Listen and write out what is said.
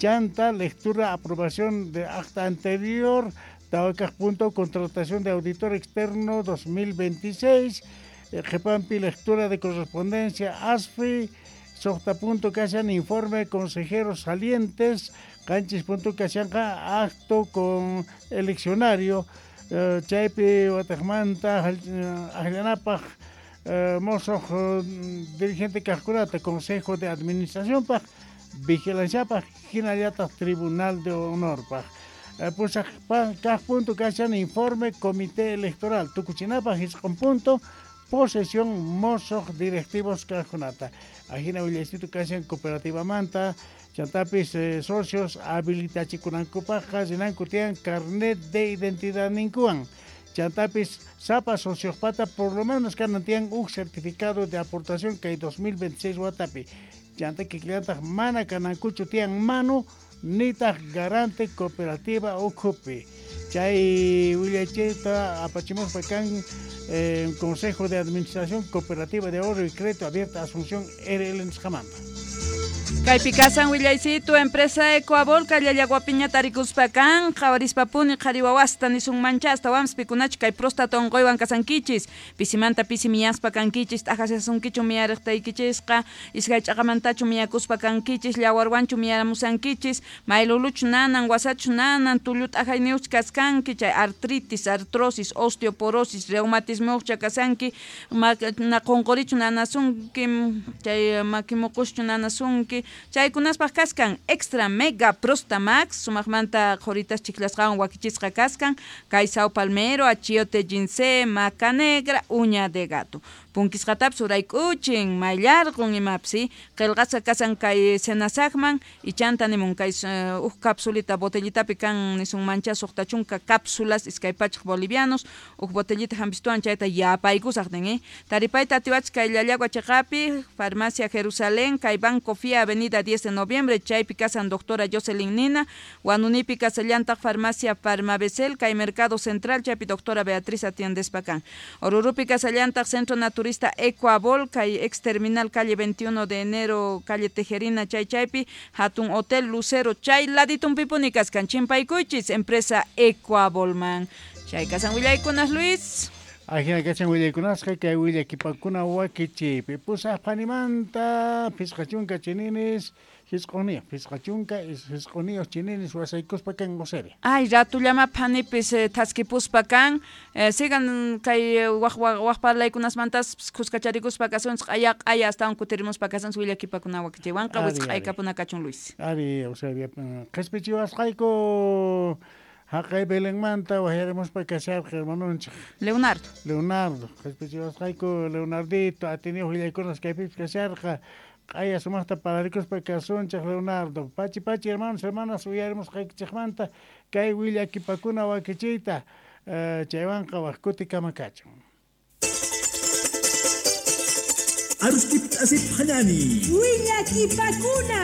Chanta, lectura, aprobación de acta anterior, tawakaq punto, contratación de auditor externo 2026, Qhipanpi, lectura de correspondencia, ASFI, suqta punto kashan informe consejeros salientes, qanchis punto kashanqa acto con eleccionario, chaypi wataqmanta akllanapaq mosoq dirigente kaqkunata consejo de administración paq, vigilanciapaq, hinallataq tribunal de honorpaq. Pusaq kaq punto kashan informe comité electoral, tukuchinapaq isqun punto, posesión mosoq directivos kaqkunata. Ajina willaysitu kashan cooperativamanta, chantapis socios habilitachikunankupaqqa rinanku tiyan carnet de identidad ninkuwan. Chantapis sapa sociospata por lo menos kanan tiyan huk certificado de aportación kay 2026 watapi. Chanta kikillantaq mana kanankuchu tiyan manu nitaq garante cooperativa ukhupi. Chay willaychayta apachimuspa kan Consejo de Administración Cooperativa de Ahorro y Crédito Abierta Asunción RL nisqamanta. Kaypi kasan willaysitu empresa Ecoabol Llallaguapiña tarikuspa kan qhawarispapuni qhari wawasta nisun manchasta wams pikunachu kay próstata unquywan kasankichis pisimanta pisi miyaspa kankichis t'aqasasunkichu miyariqtaykichisqa iskay ch'aqamantachu miyakuspa kankichis llawarwanchu miyaramusankichis mayluluchu nanan wasachu nanan tullu t'ajayniyuqchu kaskanki chay artritis, artrosis, osteoporosis, reumatismoqcha kasanki na qunqurichu nanasunki chay makimuquschu nanasunki chaykunaspaq kaskan extra mega prostamax sumaqmanta qhuritas chiklasqawan wakichisqa kaskan kay sao palmero, achiote, ginseng, maca negra, uña de gato punkisqatapis urayk'uchin mayllarqun imapis qillqasqa kasan kay senasaqman ichanta nimun kay huk capsulita botellitapi kan nisun mancha suqta chunka cápsulas 200 bolivianos huk botellita hampistuwan chayta yapaykusaq nin taripayta atiwachis kay Llallagua chiqapi farmacia Jerusalén kay Banco Fia avenida 10 de noviembre chaypi kasan doctora Jocelyn Nina Huanunipi kasallantaq farmacia Farmabecel kay Mercado Central chaypi doctora Beatriz atiendespa kan Orurupi kasallantaq Centro Naturista Ecoabol kay ex terminal calle 21 de enero calle Tejerina chay chaypi hatun Hotel Lucero chay laditunpipuni kaskan chimpaykuychis empresa Ecoabolman chay kasan willaykunas Luis. Ajina kachan willaykunasqa kay willakipakuna wakichiypi pusaq phanimanta 50 chininis 9 59 chininis wasaykuspa kan Eusebia. Ay ratullama phanipis thaskipuspa kan sigan kay waq waq parlaykunasmantas kuskacharikuspa kasunchik q'aya q'aya astawan kutirimuspa kasunchik willakipakuna wakichiywanqa wisq'aykapuna kachun Luis. Ari Eusebia qhispichiwasqayku haqay Belenmanta wajyarimuspa kasharqa hermanonchik Leonardo. Leonardo qhispichiwasqayku Leonardito atiniyuq willaykunas kaypipis kasharqa q'aya sumaqta pararikuspa kasunchik Leonardo. Pachi pachi hermanos hermanas uyarimusqaykichikmanta kay willakipakuna wakichiyta chaywanqa waq kutikama kachun. Arustip asip hanani. Willakipakuna.